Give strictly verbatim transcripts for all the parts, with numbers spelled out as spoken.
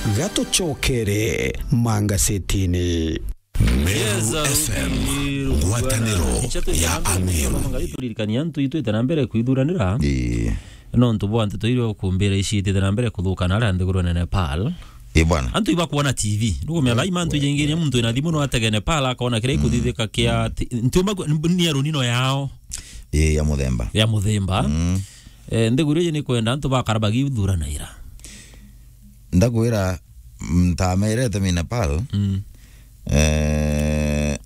Gatucokere mangasetini. Meru F M, ngwataniro ya Ameru. Turirikania antu itwite na mbere kwithuranira. Ii. Nontu bwa nteto iria ukumbira iciitite na mbere kuthuka na aria nthigurune Nepal. Ii bwana. Antu ibakwona T V. Nukumenya thaima antu ijaingiria muntu ina thimu no atege Nepal akona kiria ikuthithika kia ti-, ntiuma ku-, ni arunino yao. Ii, ya muthemba. Ya muthemba. Mm. Eh, nthiguru iji ni kwenda antu bakara bagithuranaira. Ndakwira, ntamerete mi Nepal. Mm. Eh,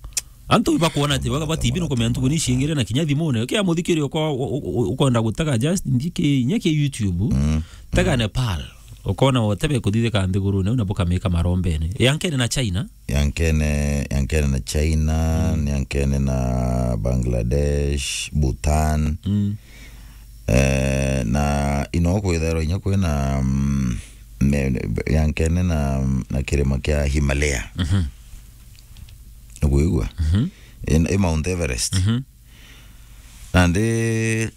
antu bakwona ati baga ba T V nukumenya ntuku ni ciingire na kinya thimune. Kia muthikiri uko-, u-, u-, ukwenda gutega just ndiki, nya ki YouTube. Mm. Tega Nepal. Ukona wotebe kuthithika nthigurune, u na bukamika marombene. Yankene na China. Yankene, yankene na China, mm, yankene na Bangladesh, Bhutan. Mm. Eh, na ino kwithairwa inya kwina, mm, me-, yankene na, na kirima kia Himalaya. Mhm. Nukwigua? Mhm. I, i Mount Everest. Mhm. Nandi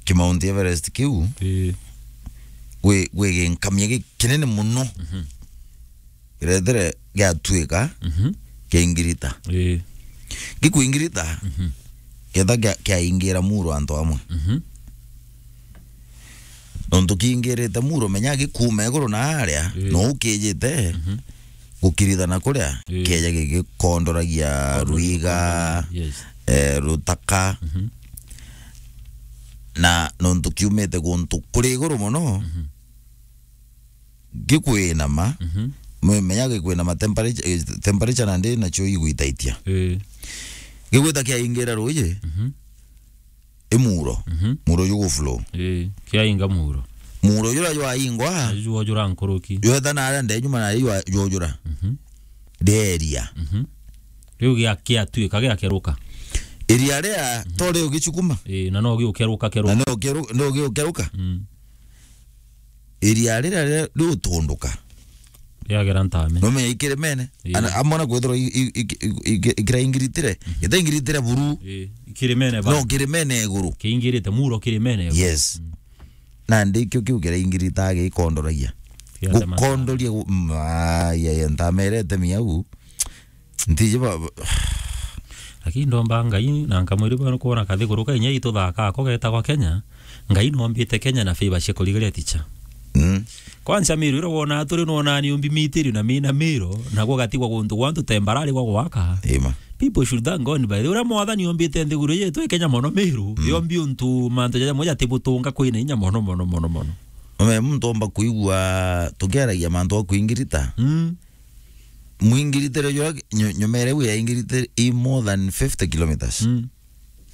ki Mount Everest kiu, ii, gwi, gwi ginkamia gikinene muno. Mhm. Kirethere giatuika, mhm, kiaingirita. Ii. Gikuingirita, mhm, kethira kia-, kiaingira muro antu amwe. Mhm. Nontu kiingirite muro, menya gikuuma iguru na aria, ii, no ukijite, mhm, gukirithana kuria, ii, kieja gigikondoragia ruiga, yes, eh, rutaka. Mhm. Na nontu kiumite guntu kuri iguru muno, mhm, gikwinama, mhm, me-, menya gikwinama temperature, eh, temperature nandi nacio igwitaitia. Ii. Gigwita kiaingira ruuji, mhm, i muro. Mhm. Muro ju guflow. Ii, kiainga muro. Muro jura jwaingwa, naju jwojura nkuruki. Jweta na aria nde nyuma na jwa-, jwojura. Mhm. Rieria. Mhm. Riu gia-, giatuika giakeruka. Iria ria, mhm, to riu gicukuma. Ii, na no giukeruka, keruka. Na no keru-, no giukeruka. Mm. Iria riria ri-, riutunduka. Riagera ntame. Nomenya ikirimene. Ii. Ana, amwe na kwithirwa i-, i-, i-, i-, i-, ikiraingiritire. Mhm. Itaingiritire buru. Ii, ikirimene ba. No kirimene iguru. Kiingirite muro kirimene iguru. Yes. Mm. Nandi kio kiu kiraingirita gikondoragia. Kiatema. Gukondoria gu-, mm, ai, ai, ntamerete miau. Ntiji ba, ba- Lakini ndomba Ngai na nkamwiri bwa kwona kathiguru ka inya ituthakaa ko getagwa Kenya. Ngai nombite Kenya na favor cia kurigaria ticha. Mm. Kwanza Miru ira wona turi nona ni umbi mitirio na mina miro, na gugatigwa guntu gwantu tembarari gwa gwaka. Ima. People should thank God by the way. Uria mwathani ombite nthiguru yetu i Kenya mono Miru, mm, yombi untu mantu jaja moja tibutunga kwina inya mono, mono, mono, mono. Ome muntu omba kuigua tukiaragia mantu a kuingirita. Mm. Mwingiritire jwa nyo-, nyomere wi yaingirite i more than fifty kilometers. Mm.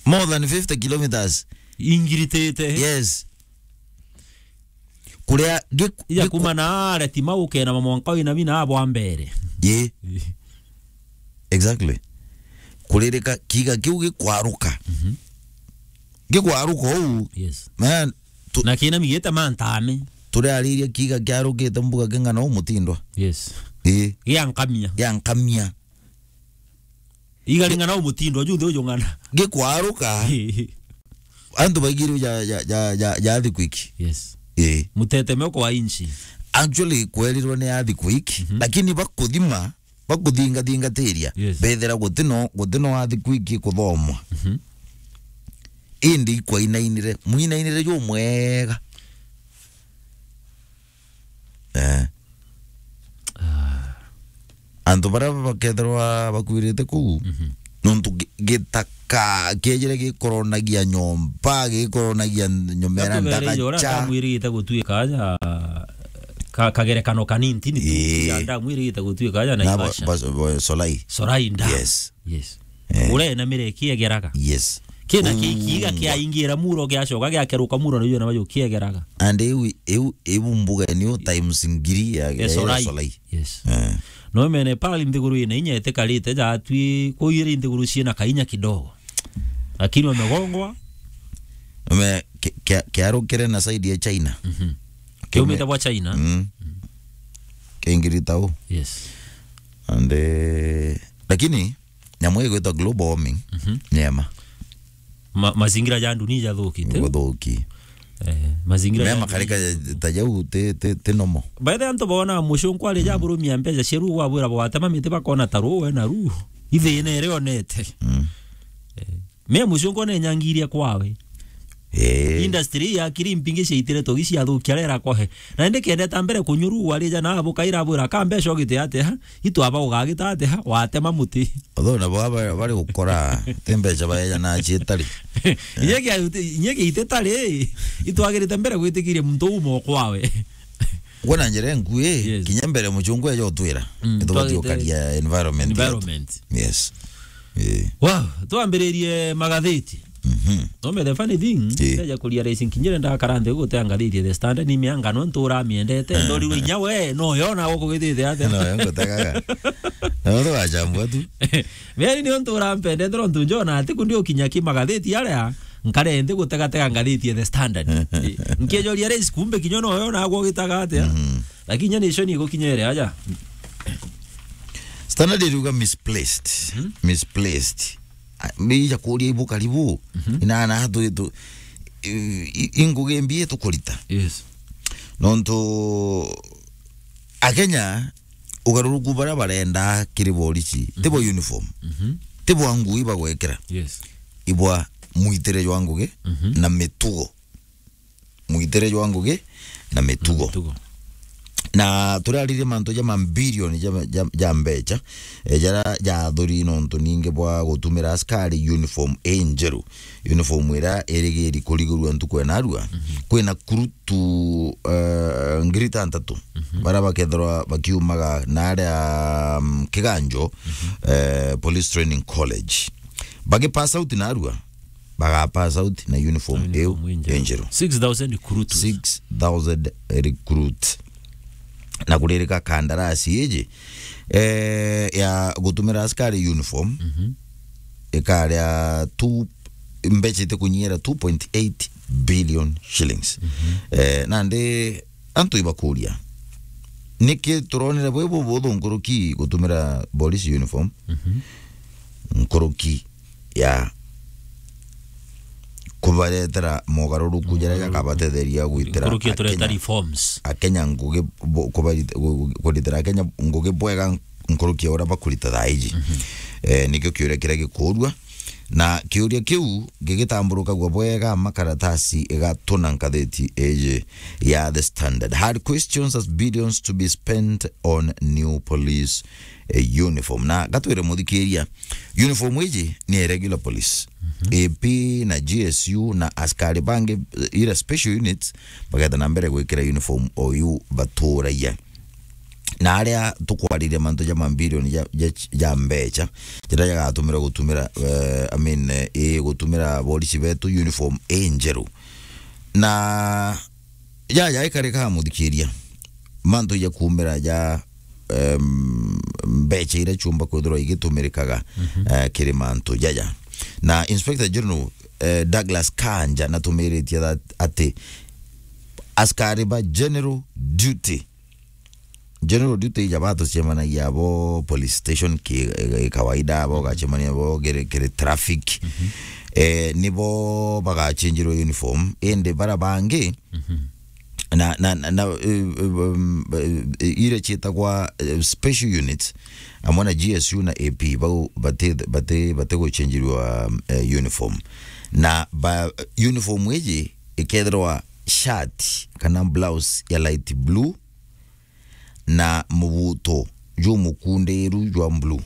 More than fifty kilometers. Ingiritite. Yes. Kuria gi-, ija gi-, kuma na aria tima ukena mamwanka wina mina abwa mbere. Ye. Exactly. Kuririka kiga kiu gikwaruka. Mhm. Gikwaruka uu. Yes. Man, tu- na kina migite mantame. Turiariria kiga kiarukite mbuga king'ana uu mutindwa. Yes. Ii. Giankamia. Giankamia. Igaring'ana umutindo ju nthi ujung'ana. Gikwaruka. Antu baigirwe ja, ja, ja, ja, ja earthquake. Yes. Eh. Mutetemeko wa inchi. Actually, kwerirwe ni earthquake, mhm, lakini bakuthima, bakuthingathingatiria. Yes. Bethira gutino, gutino earthquake kuthomwa. Mhm. Indi ikwainainire, mwinainire ju mwega. Eh. Ah. Antu baria bakethirwa bakuirite kuu, mhm, nontu gi-, gitaka kiejire gikoronagia nyomba, gikoronagia nyomera. Ndagacha. Ndamu irigite gutuika aja, ka-, kagerekano kanini, ni tu, ii, ya ndamu irigite gutuika aja na Naivasha. Ba-, ba-, Solai. Solai ndamu. Yes. Yes. Eh. Uria ena mire kiegeraga. Yes. Kina ki-, kiiga kiaingira muro giacoka giakeruka muro na iu na bayo kiegeraga. And iu, iu, iu mbuga niyo times ngiri ya, ya, ya Solai. Solai. Yes. Eh. No mene pali nthiguru ina inya itikarite jatwi kuiri nthiguru ciina kainya kidogo. Lakini wamegongwa. Ume, ki-, kia-, kiarukire na side ya China. Mhm. Kiumite bwa China. Mm. Kingirita u. Yes. And, eh, lakini nyamu igwitwa global warming, mhm, ni ema. Ma-, mazingira ja dunia jathukite. Guthuki. Eh, mazingira me ya makarika ta jau ti, ti, ti nomo. By the way, antu bona mucunku ari ja burumia mbeca cia ruu gwabwira bwatema miti bakona ta ruu we na ruu. Ithina iri onete. Mm. Eh, me mucunku ne nyangiria kwawe. Eh. Industry ya kiri mpingi ciaitire togi ciathukia rera kohe. Na indi kende ta mbere kunyuru wari ja na bukaira bwira ka mbeca ogite ate ha? Itwaba ugagita ate ha? Watema muti. Although nabo aba bari gukora, ti mbeca baeja na cietari. Inye kia, inye kia itetari, itwagirite mbere gwitikiria muntu umo kwawe. Gwona njira nkui, yes, kinya mbere mucungu eja utwira. Mm, nitubati twagite ukaria environment yetu. Environment. Yes. Eh. Wow, twambiririe magatheti. Mhm. No me the funny thing, eh, ndeja kuria racing kinyire ndakara nthi gutea ngatheti The Standard ni mianga no ntura miendete, eh, ndorirwe inya we, no yona gukugithite ate. No yo ngutagaga. No ndo wachambua tu. Meri ni untu urampendete no ntu njona ati kundi ukinya ki magatheti aria, nkare nthi gutegatega ngatheti The Standard. Eh, nkijoria race kumbe kinya no yona gukugitaga ate. Mhm. Lakini nyani icio ni gukinyere aja. Standard iriuga misplaced. Mhm. Misplaced. A, mbeija kuria ibu karibu. Mhm. Inana tu, tu, i, i, ingugi mbi tukurita. Yes. Nontu Akenya ugaruruku baria barenda kiri borisi, ti bwa uniform. Mhm. Ti bwa ngui bagwekira. Yes. Ibwa mwitire jwa ngugi, mhm, na mitugo. Mwitire jwa ngugi na mitugo. Na mitugo. Na turaririe mantu ja mabilioni ja, ja, ja mbeca, eh, jaria jathuri nontu ningi bwa gutumira askari uniform injeru. Uniform iria irigiri kurigurua ntuku ya narua. Mhm. Kwina kurutu, eh, ngiri itantatu, mhm, baria bakethirwa bakiumaga naria, mm, Kiganjo, mhm, eh, Police Training College. Bagi pass out narua, baga pass out na uniform iu injeru. Six thousand recruits. Six thousand recruits. Na kuririka kandarasi iji, eh, ya gutumira askari uniform, mhm, ikaria two, mbeca itikunyiira two point eight billion shillings. Mhm. Eh, nandi antu ibakuria, niki turonire bwi bubuthu nkuruki gutumira police uniform, mhm, nkuruki ya kubaretera mogaruruku jaria jakabatetheria gwitira nkuruki ya tureta Akenya, reforms. Akenya ngugi bo-, kubari-, gu-, gu-, kuritira Akenya ngugi bwega nkuruki ya uria bakurita thaa iji. Mhm. Eh, nikio kiuria kiria gikuurua. Na kiuria kiu gigitamburukagua bwega makaratasi igatuna ngatheti iji ya The Standard. Hard questions as billions to be spent on new police, eh, uniform. Na gatwire muthikiria, uniform iji ni ya regular police. Mhm. A P na G S U na askari bangi, eh, ira special units, bageta na mbere gwikira uniform o iu baturagia. Na aria tukwariria mantu ja mabilioni ja, ja, ja mbeca, jaria jagatumirwa gutumira, eh, I mean, eh, ii gutumira borisi betu uniform injeru. Na jaja ikarika muthikiria. Mantu ja kumira ja, em, mbeca iria ciumba kwithirwa igitumirikaga, mhm, eh, kiri mantu jaja. Na Inspector General, eh, Douglas Kanja natumiritie that, ati askari ba general duty, general duty ija batucemanagia abo police station ki, ki kawaida, abo ugacemania abo kiri, kiri traffic. Mhm. Eh, nibo bagachinjirwa uniform, indi bara bangi, mhm, na, na, na, na, eh, eh, um, eh, ire ciitagwa, eh, special units, amwe na G S U na A P, bau bati, bati, bati guchinjirwa, eh, uniform. Na ba, uniform iji ikethirwa shirt kana blouse ya light blue na mubuto jumukundiru jwa blue.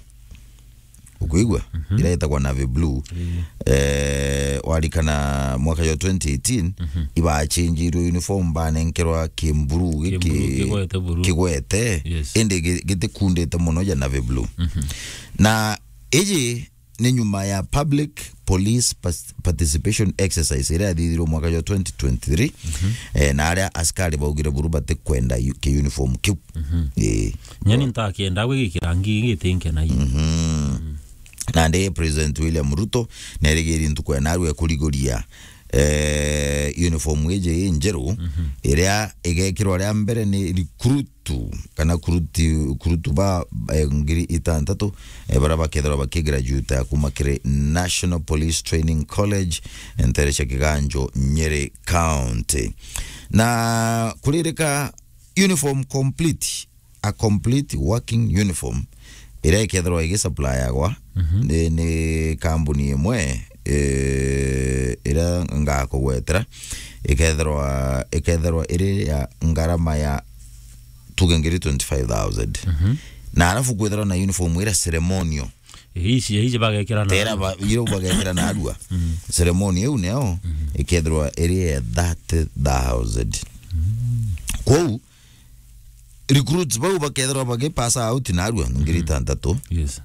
Ukuigua? Mhm. Ira itagwa navy blue. Ii. Eh, warikana mwaka jwa twenty eighteen, mhm, ibachinjirwe uniform, banenkerwa ki blue giki, ki blue, kigwete blue. Kigwete. Yes. Indi gi-, gitikundite muno ja navy blue. Mhm. Na iji ni nyuma ya public police pas-, participation exercise iria yathithirwe mwaka jwa twenty twenty-three, mhm, eh, na aria askari baugire buru batikwenda yu-, ki uniform kiu. Mhm. Ii. Nyani ntakienda gwikira ngi gitinkena ii. Mhm. Mm. Nandi President William Ruto nerigiri ntuku ya narua kuriguria, eh, uniform iji injeru, iria igekirwa ria mbere ni recruit kana kuruti, kurutu ba, eh, ngiri itantatu, eh, bara bakethirwa bakigraduate kuma kiri National Police Training College, ntere cia Kiganjo, Nyeri County. Na kuririka uniform complete, a complete working uniform, iria ikethirwa igisuppliagwa ni, ni kambuni imwe, eh, iria ngakugwetera, ikethirwa, ikethirwa iri ya ngarama ya tuge ngiri twenty-five thousand. Na alafu kwithirwa na uniform iria ceremonial. Ici, ici bagekira na tera ba, iro bagekira na arua. Ceremony iu neo ikethirwa iri ya thirty thousand. Kwou, recruits bau bakethirwa bagi pass out na arua ngiri itantatu. Yes.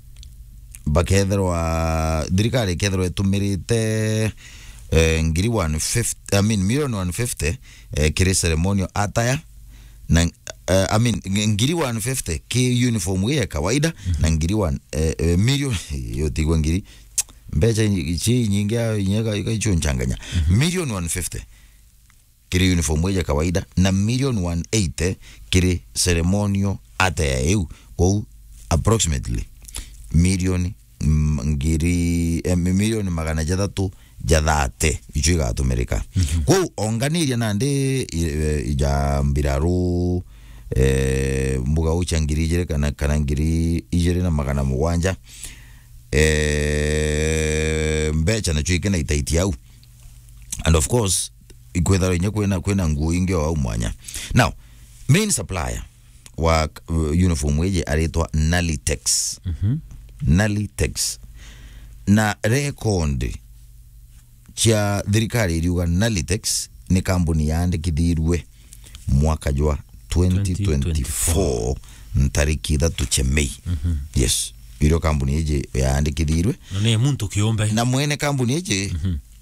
Bakethirwa, thirikari ikethirwa itumirite, eh, ngiri one fifty, I mean, million one fifty, eh, kiri ceremonial attire, na, eh, I mean, ng-, ngiri one fifty ki uniform ya kawaida, na ngiri one, eh, eh, million, yo tigwa ngiri, mbeca inyi-, ci nyingi ya, inya ga, ga icio nchanganya. Million one fifty kiri uniform iji ya kawaida, na million one eighty kiri ceremonial attire iu. Kwou, approximately, million, mm, ngiri, eh, mi-, million magana jathatu ja thirty, icio igatumirika. Kwou, onganiria nandi, i-, eh, ja mbiraru, eh, mbuga ucha ngiri ijiri kana, kana ngiri ijiri na magana mugwanja, eh, mbeca nacio ikena itaiti au. And of course, ikwithirwa inya kwina, kwina nguo ingi o au mwanya. Now, main supplier wa, uh, uniform iji aritwa Nalitex. Nalitex. Na record cia thirikari iriuga Nalitex ni kambuni yaandikithirue mwaka jwa twenty twenty-four, ntariki ithatu cia Mei. Yes. Irio kambuni iji yaandikithirwe. Na ni muntu kiumbe. Na mwene kambuni iji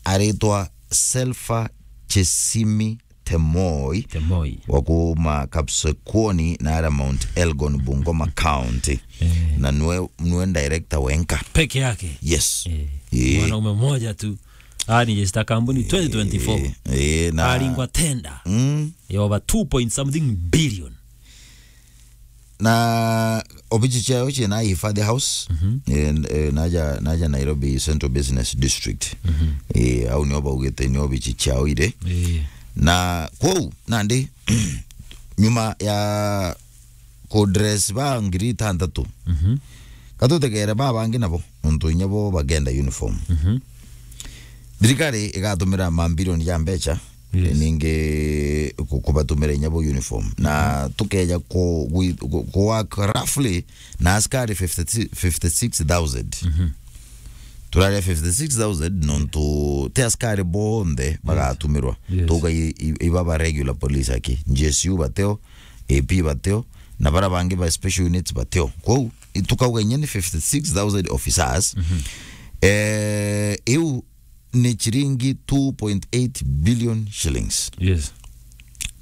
aritwa Selfa Chesimi Temoi. Temoi. Wa kuma Kapsekuoni na ara Mount Elgon, Bungoma County. Eh. Na nwe, nwe director wenka. Peke yake? Yes. Eh. Eh. Mwanaume mmoja tu. Aregister kambuni twenty twenty-four. Eh, eh, na aringwa tender. Mm. Ya over two point something billion. Na obici ciao ciina Hifadhi House, eh, eh, naja, naja Nairobi Central Business District. Eh, au nio baugite ni obici ciao iri. Eh. Na kwou, nandi, nyuma ya kudress ba ngiri itantatu, katutegere ba bangi nabo, nontu inya bo bagenda uniform. Thirikari igatumira mambilioni ja mbeca, yes, ningi ku-, kubatumira inya bo uniform. Na tukeja ku-, gwi-, ku-, ku work roughly na askari fifty, fifty-six thousand. Turaria fifty-six thousand nontu ti askari bonthe bagatumirwa. Yes. Tuga i-, i-, ibaba regular police aki. G S U bateo, A P bateo, na bara bangi ba special units bateo. Kwou, i-, tukauga inya ni fifty-six thousand officers. Eh, iu ni chiringi two point eight billion shillings. Yes.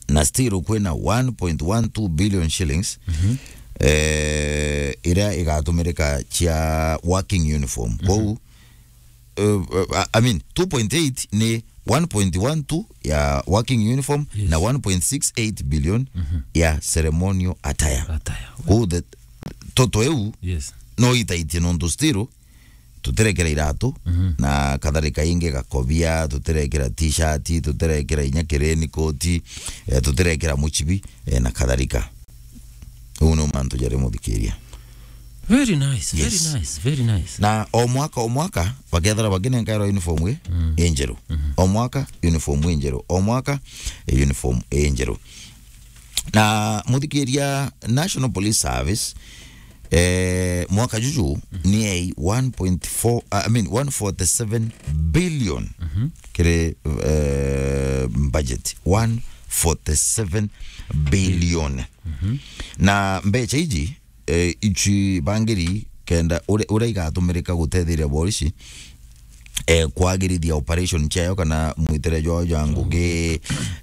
Na still kwina one point one two billion shillings, eh, iria igatumirika cia working uniform. Kwou, eh, eh, I mean, two point eight ni one point one two ya working uniform, yes, na one point six eight billion ya ceremonial attire. Attire. Kwou the, toto eu, yes, no itaitie nontu still tutirekera iratu, na kadhalika, ingi gakobia, tutirekera t-shirt, tutirekera inya kireni koti, eh, tutirekera muchibi, eh, na kadhalika. Uu ni mantu jari muthikiria. Very nice, very, yes, nice, very nice. Na o mwaka, o mwaka, bakethira bakinenkairwa uniform i-, injeru. O mwaka, uniform injeru. O mwaka, eh, uniform injeru. Na muthikiria, National Police Service, eh, mwaka juju ni yai one point four, uh, I mean, one forty-seven billion kiri, eh, budget. One forty-seven billion. Na mbeca iji, eh, ichi bangiri kenda ure-, uria igatumirika gutetheria borisi, eh, kwagirithia operation ciayo kana mwitire jwayo jwa ngugi,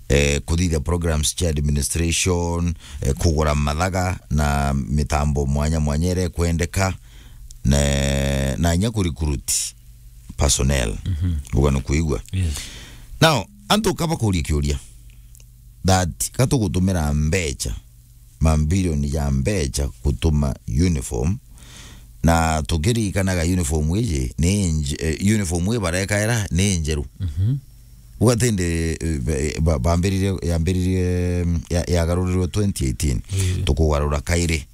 eh, kuthithia programs cia administration, eh, kugura mathaga na mitambo mwanya mwanya iria ikwendeka, na, na inya kurecruit personnel. Uga ni kuigua. Yes. Now, antu kaba kuria kiuria that katugutumira mbecha, mambirioni ja mbecha gutuma uniform, na tukiririkanaga uniform iji ni nje-, eh, uniform ii barekaira ni njeru. Mhm. Ugatindi, eh, ba-, ba-, bambiririe, yambiririe, mm, ya-, yagarurirwe twenty eighteen. Ii. Tukugarura kairi.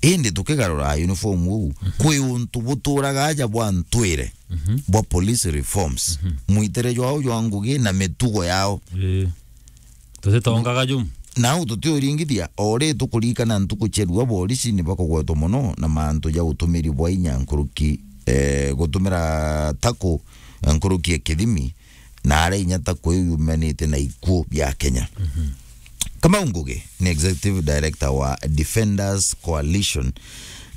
Indi tukigarura uniform uu, mhm, kwi untu buturaga aja bwa ntwire, mhm, bwa police reforms. Mhm. Mwitere jwao jwa ngugi na mitugo yao. Ii. Tutitongaga jumu. Nau tutiuringithia, o ri tukuririkana ntuku cia riua, borisi ni bakugwetwa mono na mantu ja utumiri bwa inya nkuruki, eh, gutumira taku nkuruki ya kithimi, na aria inya taku iu yumanite na ikuo bia Kenya. Mhm. Kamau Ngugi ni executive director wa Defenders Coalition.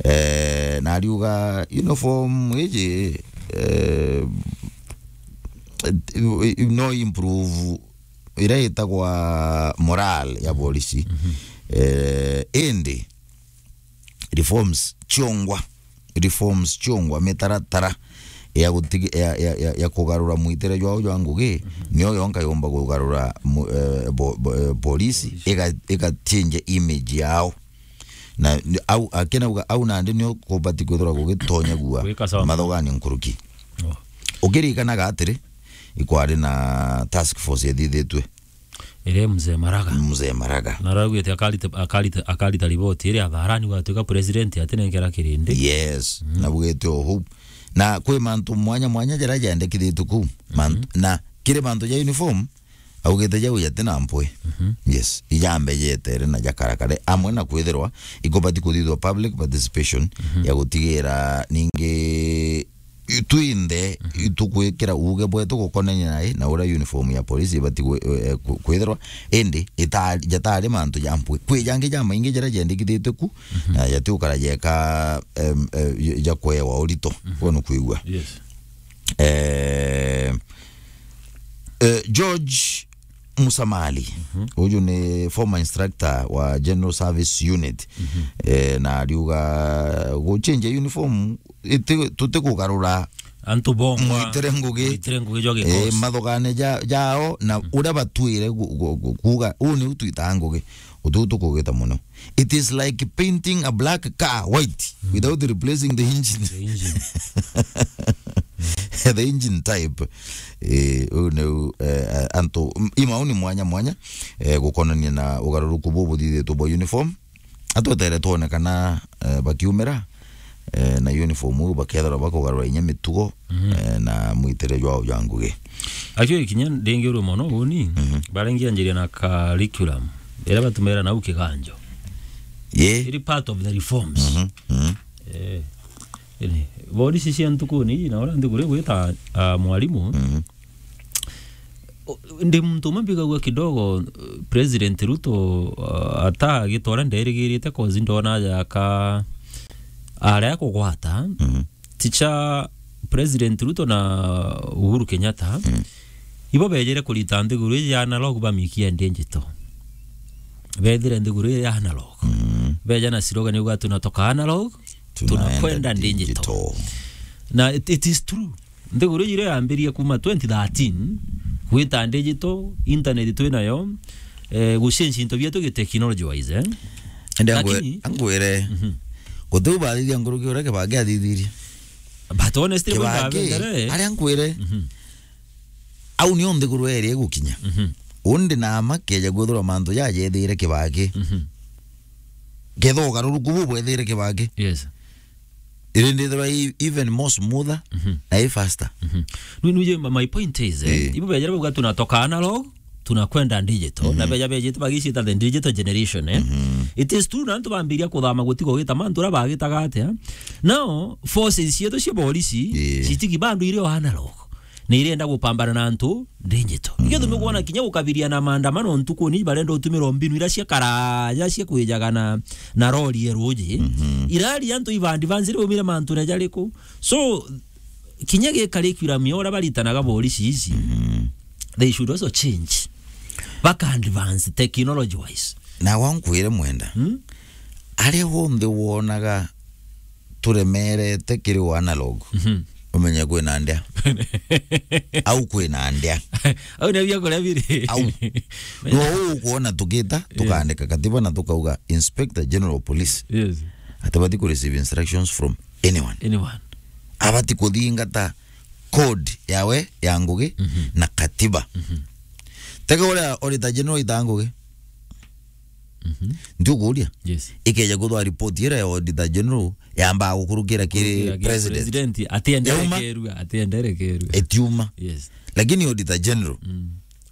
Eh, na ariuga uniform iji, eh, no improve iria itagwa morale ya borisi. Mhm. Eh, indi reforms ciongwa, reforms ciongwa, mitaratara ya gutigi-, ya, ya, ya, ya kugarura mwitere jwao jwa ngugi, mhm, niyo yonka yomba kugarura mu-, eh, bo-, bo-, eh, borisi, borisi, iga-, igachange image yao. Na ni-, au, akinauga au nandi nio kubati kwithirwa gugitonyagua. Gwika sawa. Mathogani nkuruki. Oh. Ukiririkanaga atiri, ikwari na task force ithithitwe. Iri Mzee Maraga. Mzee Maraga. Na araugite akarita, akarita, akarita riboti iria atharani gwatuika president atinenkera kirindi. Yes. Mm. Na bugite o huu. Na kwi mantu mwanya mwanya jaria jendekithitue kuu. Man-, mhm, na kiri mantu ja uniform, augite jau jati na mpwi. Mhm. Yes. Ijambe jetere na jakarakare. Amwe na kwithirwa ikubati kuthithwa public participation, mhm, ya gutigira ningi twinthe, mhm, itugwikira uuge bwetu gukonania nai na uria uniform ya polisi ibati gwi-, eh, ku-, kwithirwa, indi ita-, jatari mantu ja mpwi. Kwi jangi jamaingi jaria jendekithitue ku, mhm, na jatiukara jeka, em, eh, ja kwewa urito. Mhm. Kwenu kwigua. Yes. Eh, eh, George Musamali, mhm, uju ni former instructor wa General Service Unit, mhm, eh, na ariuga guchenja uniform iti-, tutikugarura antu bongwa, mwitere ngugi, mwitere ngugi jwa, eh, gikosi, mathogane ja-, jao, na, mm, uria batwire gu-, gu-, gu-, kuuga, uu niu twitaa ngugi, utu tukugita mono. It is like painting a black car white, mm, without replacing the engine. The engine. The engine type. Eh, uu niu, eh, antu, m-, imauni mwanya mwanya, eh, gukonania na ugaruruku buu buthithitwe bwa uniform. Atwetere twone kana, eh, bakiumira, eh, na uniform uu bakethirwa bakugarura inya mitugo, mhm, eh, na mwitere jwao jwa ngugi. Actually, kinya ndingiurwe mono uni, mhm, barengianjiria na curriculum iria batumira nau kiganjo. Ye. Iri part of the reforms. Mhm, mhm. Eh, ini, borisi cia ntukuni iji na uria nthiguru igwita, ah, mwarimu. Mhm. O, ndi muntu umwe mbigagua kidogo, eh, President Ruto, ah, ata agitwara nderigirite, 'cause ndona aja aka aria kugwata. Mhm. Ticha President Ruto na Uhuru Kenyatta, mhm, ibo bejire kurita nthiguru iji ya analog bamikia digital. Bethire nthiguru iji ya analog. Mhm. Beja na slogan yuga, "Tunatoka analog, tunakwenda digital." Digital. Na it, it is true. Nthiguru iji iria yambirie kuma twenty thirteen, gwita digital, internet twi nayo, eh, gucenjia into bietu gi technology wise, eh? Ende angwe-, lakini angwire, mhm, gutiu bathithia nkuruki uria Kibaki athithirie. But honestly, Kibaki, aria ngwire, mhm, au nio nthiguru eri igukinya. Mhm. Undi na ama keja kwithirwa mantu jajethire Kibaki. Mhm. Ketho ugaruruku bu bwethire Kibaki. Yes. Iri ndithirwa i even more smoother, mhm, na i faster. Mhm. Nu-, nuje, ma-, my point is, eh, eh, ibo bejere bauga, "Tunatoka analog, tunakwenda digital." Mhm. Na beja bejite bagicita the digital generation, eh? Mhm. It is true, na antu bambiria kuthama gutiga ugita mantu uria bagitaga atia. Now, forces cietu cia borisi, eh, citigi bado iri o analog. Ni irenda gupambana na antu digital. Ikio tumi kwona kinya gukabiria na maandamano ntuku ni barenda utumira mbinu ira cia karaja cia kwijaga na, na rori ya ruji. Mhm. Irari antu iba advance ri umire mantu na jariku. So, kinya gi curriculum ya uria baritanaga borisi ici, mhm, they should also change. Baka advance technology wise. Na wankwire mwenda. Hmm? Aria wonthe wonaga turemerete kiri o analog. Mhm. Umenye kwina ndea. Au kwina ndea. Au ni bia kuria biri. Au. No ukuona tukita, tukaandika katiba na tukauga Inspector General of Police. Yes. Atabati ku receive instructions from anyone. Anyone. Abati kuthingata code yawe ya ngugi na katiba. Tega uria Auditor General ita ngugi. Ndio kuria. Yes. Ikeja kuthwa report ira ya Auditor General yamba gukurukira kiri president. Atienderekerua, atienderekerua. Etiuma. Yes. Lakini Auditor General.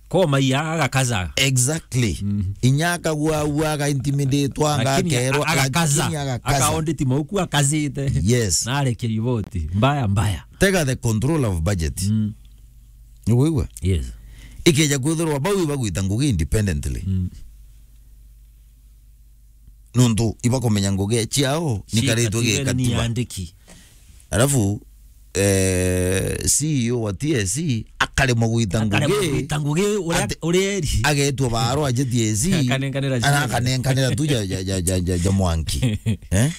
Ko maiya agakaza. Exactly. Inya akagua ua aga intimidate anga akerwa, agakaza. Lakini agakaza. Aka audit mauku akazite. Yes. Na arekia riboti. Mbaya, mbaya. Tega the control of budget. Niguigua? Yes. Ikeja kwithirwa bau ibagwita ngugi independently. Nontu ibakumenya ngugi ciao nikaritwe gikatiba. Alafu eh, C E O wa T S C akaremwa gwita ngugi. Akaremwa gwita ngugi uria eri. Agetwa baro aje T S C. Akanenkanira C E O. Akanenkanira tu ja, ja, ja, ja, ja, ja mwanki. Eh?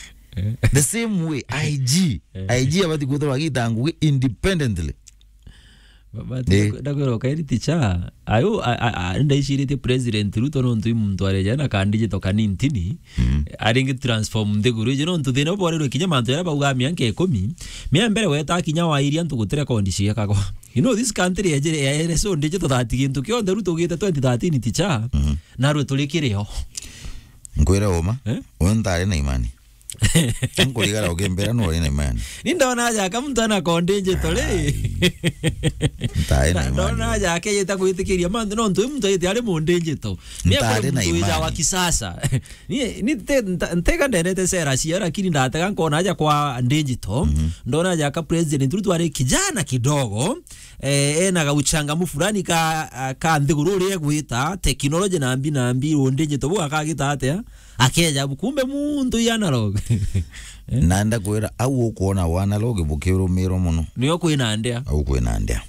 The same way I G, I G abati kwithirwa agita ngugi independently. But ndakwira ukairi ticha ayo. Ndaiciritie president Ruto nontu i muntu areja na kandijito kanintini aringi transform nthiguru iji nontu thina uborirwe kinya mantu jaria baugaa mianka ikumi. Mia mbere weta kinya wairia ntu gutire kondi ciekagwa. You know this country ejire ya ere so ndijito thati gintu kionthe Ruto ugite twenty thirteen ticha. Narwe turi kirio. Nkwire uma. Eh? Uyu ntari na imani. Nkurigara ukimbira nuri na imani. Ni ndona aja ka muntu ana kondinjito ri. Ntari na imani. Ndona aja akejeta gwitikiria mantu nontu uyu muntu ejete ari mundinjito. Ni ntari na imani. Wa kisasa. Ni ni te ntega ndendete sera cia lakini ndatega nkona aja kwa ndinjito. Ndona aja ka president Ruto ari kijana kidogo. Eh, ena gauchangamu fulani ka, ka nthiguru uria egwita, technology na mbi na mbi, undinjito bu akagita atia? Akeja bu, kumbe muntu i analog. Eh? Na ndakwira, au ukwona wa analog bukirumirwa muno. Nio kwina ndea. Au kwina ndea.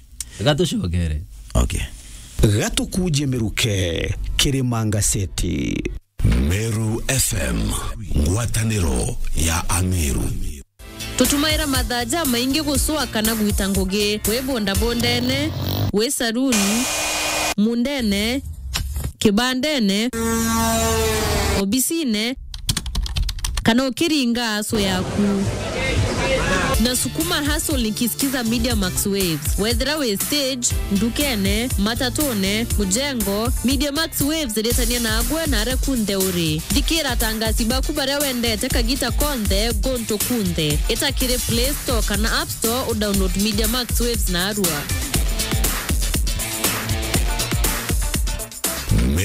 Gatucokere. Okay. Gatukuje miruke, Kirima Ngaseti. Meru F M, ngwataniro ya Ameru. Tutumaira mathaa jamaingi gucua kana gwita ngugi, wi bondabondene, wi saruni, mundene, kibandene, obisine, kana ukiringa aso yaku. Nasukuma hustle nikisikiza Media Max Waves. Wethira wi stage, ndukene, matatune, mujengo, Media Max Waves iritania nagwe na aria kunthe uri. Thikira atangasi baku baria wendete kagita konthe, guntu kunthe. Ita kiri Play Store kana App Store, udownload Media Max Waves narua.